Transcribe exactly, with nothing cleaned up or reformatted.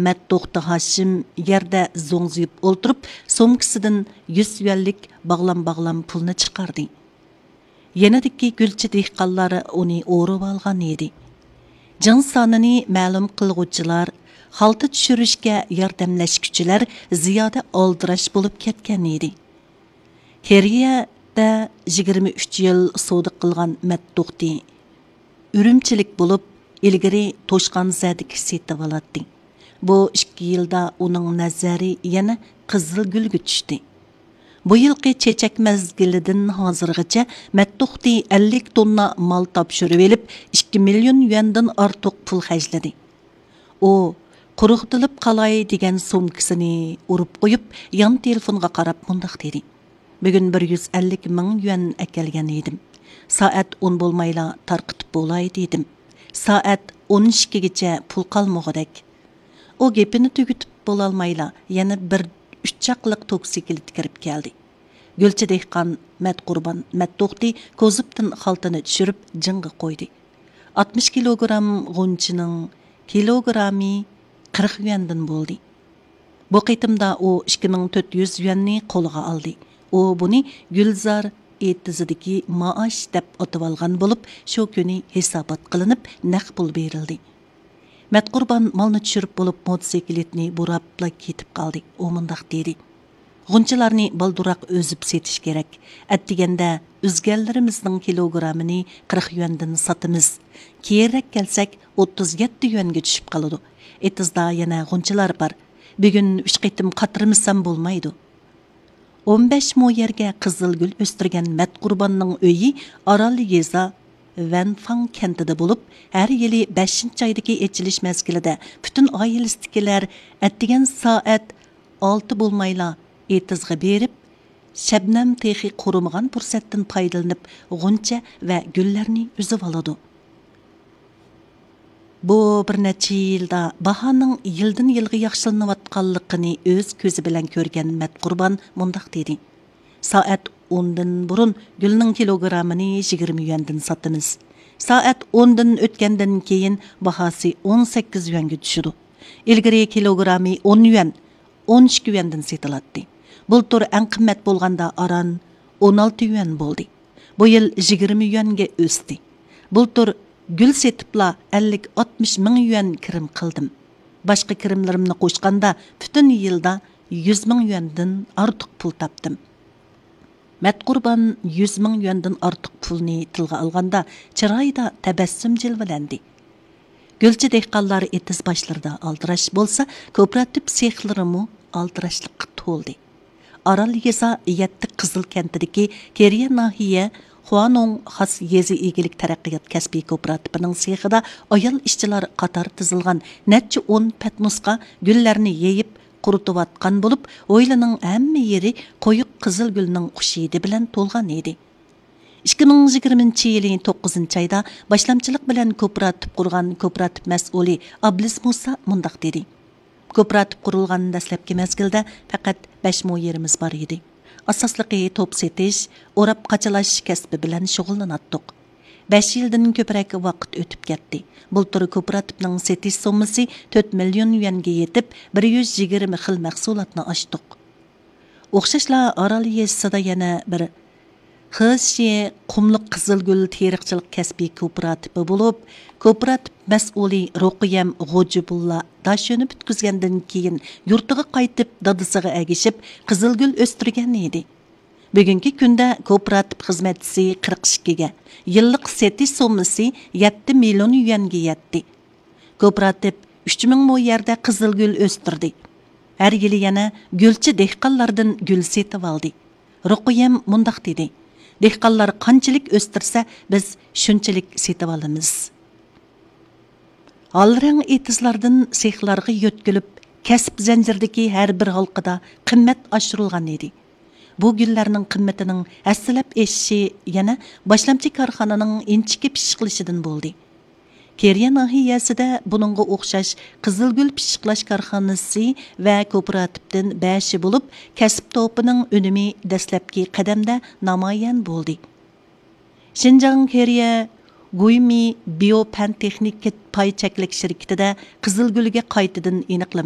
مەتتوختى ھاشىم يەردە زوڭزىيىپ ئولتۇرۇپ، سومكىسىدىن يۈز يۈەنلىك باغلام-باغلام پۇلنى چىقاردى. يېنىدىكى گۈلچى دېھقانلار ئۇنى ئورىۋالغان ئىدى. جىڭ سانىنى مەلۇم قىلغۇچىلار، خالتا چۈشۈرۈشكە ياردەملەشكۈچىلەر زىيادە ئالدىراش بولۇپ كەتكەن ئىدى. كېرىيەدە يىگىرمە ئۈچ يىل سودا قىلغان مەتتوختى ئۈرۈمچىلىك بولۇپ، ئىلگىرى توشقان زەدىكى سېتىۋالاتتى. بۇ ئىككى يىلدا ئۇنىڭ نەزەرى يەنە قىزىلگۈلگە چۈشتى. بۇ يىلقى چېچەك مەزگىلىدىن ھازىرغىچە مەتتوختى ئەللىك توننا مال تاپشۇرۇۋېلىپ، ئىككى مىليون يۈەندىن ئارتۇق پۇل خەجلىدى. ئۇ قۇرۇقتىلىپ قالاي دېگەن سومكىسىنى ئۇرۇپ قويۇپ، يان تېلېفونغا قاراپ مۇنداق دېدى: «بۈگۈن بىر يۈز ئەللىك مىڭ يۈەن ئەكەلگەن ئىدىم. سائەت ئون بولمايلا تارقىتىپ بولاي دېدىم. سائەت ئون ئىككىگىچە پۇل قالمىغۇدەك.» ئۇ گېپىنى تۈگىتىپ بولالمايلا، يەنە بىر ئۈچ چاقلىق توكسىكلىت كىرىپ كەلدى. گۈلچى دېھقان مەتقۇربان مەتتوختى كوزۇپتىن خالتىنى چۈشۈرۈپ جىڭغا قويدى. ئاتمىش كىلوگرام غۇنچىنىڭ كىلوگرامى قىرىق يۈەندىن بولدى. بۇ قېتىمدا ئۇ ئىككى مىڭ تۆت يۈز يۈەننى قولىغا ئالدى. ئۇ بۇنى گۈلزار ئېتىزىدىكى مائاش دەپ ئاتىۋالغان بولۇپ، شۇ كۈنى ھېسابات قىلىنىپ، نەق پۇل بېرىلدى. مەتقۇربان مالنى چۈشۈرۈپ بولۇپ، موتوسىكلىتنى بۇراپلا كېتىپ قالدى. ئۇ مۇنداق دېدى: «غۇنچىلارنى بالدۇرراق ئۈزۈپ سېتىش كېرەك. ئەتىگەندە ئۈزگەنلىرىمىزنىڭ كىلوگرامىنى قىرىق يۈەندىن ساتىمىز. كېيىنرەك كەلسەك، ئوتتۇز يەتتە يۈەنگە چۈشۈپ قالىدۇ. ئېتىزدا يەنە غۇنچىلار بار. بۈگۈن ئۈچ قېتىم قاتۇرمىسام بولمايدۇ.» ئون بەش مو يەرگە قىزىلگۈل ئۆستۈرگەن مەتقۇرباننىڭ ئۆيى ئارال يېزا ۋەنفاڭ كەنتىدە بولۇپ، ھەر يىلى بەشىنچى ئايدىكى ئېچىلىش مەزگىلىدە پۈتۈن ئائىلىسىدىكىلەر ئەتىگەن سائەت ئالتە بولمايلا ئېتىزغا بېرىپ، شەبنەم تېخى قۇرۇمىغان پۇرسەتتىن پايدىلىنىپ، غۇنچە ۋە گۈللەرنى ئۈزۈۋالىدۇ. بۇ بىر نەچچە يىلدا باھانىڭ يىلدىن يىلغا ياخشىلىنىۋاتقانلىقىنى ئۆز كۆزى بىلەن كۆرگەن مەتقۇربان مۇنداق دېدى: «سائەت ئوندىن بۇرۇن گۈلنىڭ كىلوگرامىنى يىگىرمە يۈەندىن ساتىمىز. سائەت ئوندىن ئۆتكەندىن كېيىن باھاسى ئون سەككىز يۈەنگە چۈشىدۇ. ئىلگىرى كىلوگرامى ئون يۈەن، ئون ئىككى يۈەندىن سېتىلاتتى. بۇلتۇر ئەڭ قىممەت بولغاندا ئاران ئون ئالتە يۈەن بولدى. بۇ يىل يىگىرمە يۈەنگە ئۆستى. بۇلتۇر گۈل سېتىپلا ئەللىك ئاتمىش مىڭ يۈەن كىرىم قىلدىم. باشقا كىرىملىرىمنى قوشقاندا پۈتۈن يىلدا يۈز مىڭ يۈەندىن ئارتۇق پۇل تاپتىم.» مەتقۇربان يۈز مىڭ يۈەندىن ئارتۇق پۇلنى تىلغا ئالغاندا، چىرايىدا تەبەسسۇم جىلۋىلەندى. گۈلچى دېھقانلار ئېتىز باشلىرىدا ئالدىراش بولسا، كوپىراتىپ سېخلىرىمۇ ئالدىراشلىققا تولدى. ئارال يېزا يەتتە قىزىل كەنتىدىكى كېرىيە ناھىيە خۇانوڭ خاس يېزا ئىگىلىك تەرەققىيات كەسپىي كوپىراتىپىنىڭ سېخىدا ئايال ئىشچىلار قاتار تىزىلغان نەچچە ئون پەتنۇسقا گۈللەرنى يېيىپ، قۇرۇتۇۋاتقان بولۇپ، ھويلىنىڭ ھەممە يېرى قويۇق قىزىل گۈلنىڭ خۇش ھىدى بىلەن تولغان ئىدى. ئىككى مىڭ يىگىرمىنچى يىلى توققۇزىنچى ئايدا باشلامچىلىق بىلەن كوپىراتىپ قۇرغان كوپىراتىپ مەسئۇلى ئابلىز مۇسا مۇنداق دېدى: «كوپىراتىپ قۇرۇلغان دەسلەپكى مەزگىلدە پەقەت بەش مو يېرىمىز بار ئىدى. ئاساسلىقى توپ سېتىش، ئوراپ قاچىلاش كەسپى بىلەن شۇغۇللىناتتۇق. بەش يىلدىن كۆپرەك ۋاقىت ئۆتۈپ كەتتى. بۇلتۇر كوپىراتىپنىڭ سېتىش سوممىسى تۆت مىليون يۈەنگە يېتىپ، بىر يۈز يىگىرمە خىل مەھسۇلاتنى ئاچتۇق.» ئوخشاشلا ئارال يېزىسىدا يەنە بىر خېشى قۇملۇق قىزىلگۈل تېرىقچىلىق كەسپىي كوپىراتىپى بولۇپ، كوپىراتىپ مەسئۇلى رۇقىيەم غوجىبۇللا داشۆنى پۈتكۈزگەندىن كېيىن يۇرتىغا قايتىپ، دادىسىغا ئەگىشىپ قىزىلگۈل ئۆستۈرگەن ئىدى. بۈگۈنكى كۈندە كوپىراتىپ خىزمەتچىسى قىرىق ئىككىگە، يىللىق سېتىش سوممىسى يەتتە مىليون يۈەنگە يەتتى. كوپىراتىپ ئۈچ مىڭ مو يەردە قىزىلگۈل ئۆستۈردى. ھەر يىلى يەنە گۈلچى دېھقانلاردىن گۈل سېتىۋالدى. رۇقىيەم مۇنداق دېدى: «دېھقانلار قانچىلىك ئۆستۈرسە، بىز شۇنچىلىك سېتىۋالىمىز.» ھالرەڭ ئېتىزلاردىن سېخلارغا يۆتكىلىپ، كەسىپ زەنجىرىدىكى ھەر بىر ھالقىدا قىممەت ئاشۇرۇلغان ئىدى. بۇ گۈللەرنىڭ قىممىتىنىڭ ھەسسىلەپ ئېشىشى يەنە باشلامچى كارخانىنىڭ ئىنچىكە پىششىقلىشىدىن بولدى. كېرىيە ناھىيەسىدە بۇنىڭغا ئوخشاش قىزىلگۈل پىششىقلاش كارخانىسى ۋە كوپىراتىپتىن بەشى بولۇپ، كەسىپ توپىنىڭ ئۈنۈمى دەسلەپكى قەدەمدە نامايان بولدى. شىنجاڭ كېرىيە گۇيمى بىيو پەن تېخنىكا پاي چەكلىك شىركىتىدە قىزىلگۈلگە قايتىدىن ئېنىقلىما